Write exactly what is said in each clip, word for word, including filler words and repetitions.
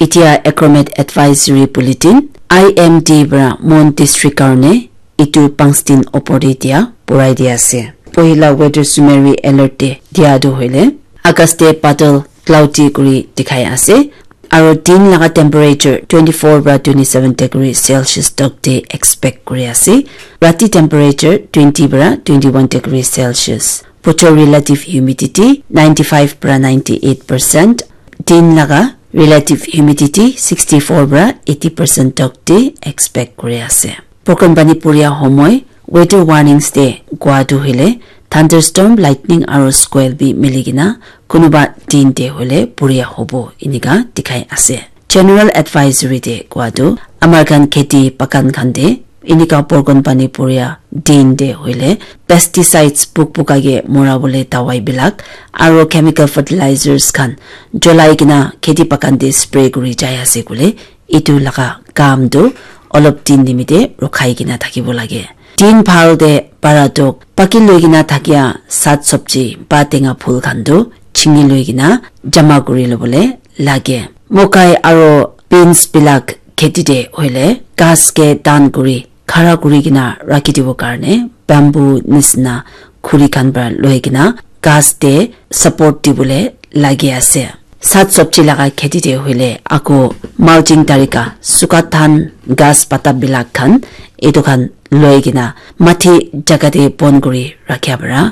Etia Acromet Advisory Bulletin, I M D para Mon District karne itu pangstin opor te dia purai dia ase. Pohila weather summary alert te dia tu hoile, August te badal cloudy kuri dikhai ase. Aro din laga temperature twenty-four para twenty-seven degree Celsius tok te expect kuri ase. Rati temperature twenty para twenty-one degree Celsius. Bochor relative humidity ninety-five para ninety-eight percent. Din laga relative humidity sixty-four para eighty percent tok te expect kuri ase. Program pani puria homoi weather warnings te koa tu hoile thunderstorm, lightning aro squall bi miligina kunuba din te hoile puria hobo inika dikhai ase. General advisory te koa tu amar khan kheti bagan khan te inika porgon pani puria din te hoile pesticides puk puka ke mora bole dawai bilak aro chemical fertilizers khan jolai kena kheti bagan te spray kuri jai ase koile itu laga kam tu olop din nimite rokhai kena thakibo lage. Din bhal te para tok paki loi kena thakia sat sobji ba tenga phul khan tu chingi loi kena jama kuri lobole lage. Mokai aro beans bilak kheti te hoile ghas ke dan kuri khara kuri kena rakhi dibo karne bamboo nisna khuri khan para loi kena ghas te support dibole lagi ase. Sat sobji laga kheti te hoile ako mulching tarika suka than ghas pata bilak khan etu khan loi kena mati jaga te pon kuri rakhia para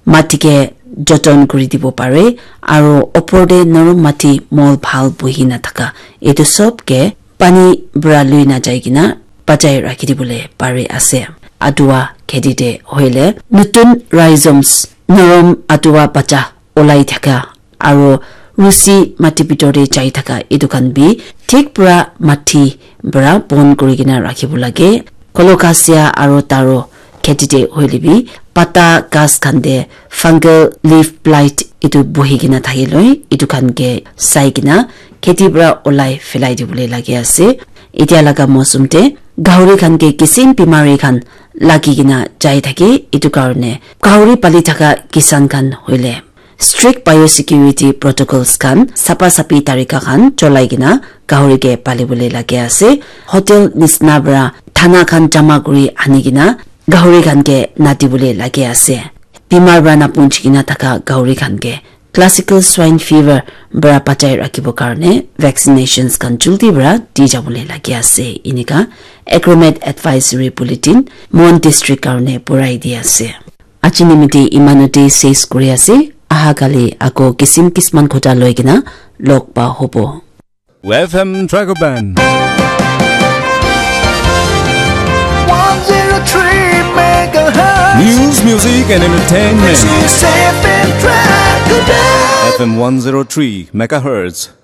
mati ke joton kuri dibo pare aro opor te norom mati mol bhal buhi na thaka etu sob ke pani para lui na jai kena bachai rakhi dibole pari ase. Adua kheti te hoile nutun rhizomes norom adua bacha olai thaka aro rusi mati bitor te jai thaka etu khan bi thik pura mati para pon kuri kena rakhibo lage. Colocasia aro taro kheti te hoile bi pata ghas khan te fungal leaf blight etu buhi kena thaki loi etu khan ke sai kena kheti para olai phelai dibole lage ase. Etia laga mosum te gahuri khan ke kisim bimari khan lagi kena jai thake etu karne gahuri pali thaka kisan khan hoile strict biosecurity protocols khan sapa sapi tarika khan cholai kena gahuri ke pali bole lage ase. Hotel nisna para thana khan jama kuri ani kena gahuri khan ke nati bole lage ase. Bimar para napunchi kena thaka gahuri khan ke classical swine fever para bachai rakhibo karne vaccinations khan juldi para di jabole lagi ase. Inika Acromet Advisory Bulletin Mon District karne purai di ase. Aji nimite imanote ses kuri ase. Aha kali ako kisim kisman khota loi kena log pa hobo. F M Dragon Band. One zero three megahertz. News, music, and entertainment. This is F M Dragon Band. F M one zero three megahertz.